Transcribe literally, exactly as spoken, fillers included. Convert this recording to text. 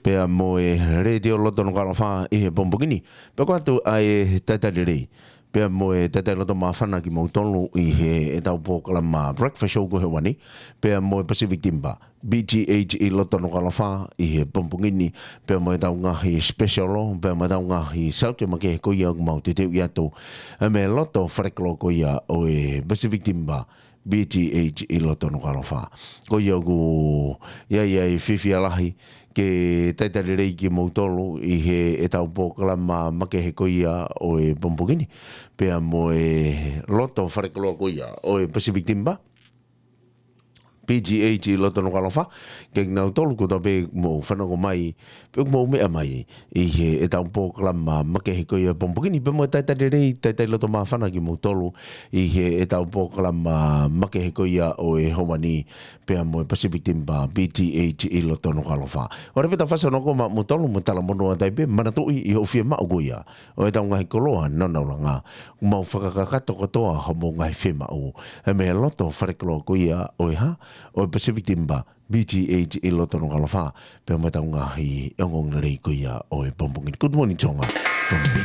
pea mo e Letiō Loto Nukuʻalofa ʻi he pongipongi ni. Pea ko ia atu ʻa e talitali lelei pea mo e talitali loto māfana kimoutolu ʻi heʻetau polokalama Breakfast Show ko e ʻaho ni, pea mo e Pacific Timber, B T H E Loto Nukuʻalofa ʻi he pongipongi ni, pea mo ʻetau ngaahi special, pea mo ʻetau ngaahi saute makehe ko ia ʻoku mau teuteuʻi atu, ʻa e meʻa loto falekoloa ko ia ʻo e Pacific Timber, B T H E Loto Nukuʻalofa. Ko ia ʻoku ʻi ai ʻa e fiefia lahi ke talitali lelei kimoutolu ʻi heʻetau polokalama makehe ko ia ʻo e pongipongi ni, pea mo e loto falekoloa ko ia ʻo e Pacific Timber, B T H E Loto Nukuʻalofa, kiate kinautolu kotoa pē ʻoku mou fanongo mai, pe ʻoku mou meʻa mai ʻi heʻetau polokalama makehe ko ia pongipongi ni, pea mo e talitali lelei, talitali loto māfana kimoutolu ʻi heʻetau polokalama makehe ko ia ʻo e ʻaho ni, pea mo e Pacific Timber, B T H E Loto Nukuʻalofa. ʻOku lava ʻetau fakafanongo maʻamoutolu mo e talamonū ʻa Taipe, manatuʻi ʻi hoʻo fiemaʻu ko ia ʻo ʻetau ngaahi koloa nāunauʻanga, ʻoku mau fakakakato kotoa hoʻomou ngaahi fiemaʻu, ʻa e meʻa loto falekoloa ko ia ʻo e hā, ʻo e Pacific Timber, B T H E Loto Nukuʻalofa, pea mo ʻetau ngaahi ongoongolelei ko ia ʻo e pongipongi ni. Good morning, Tonga, from B T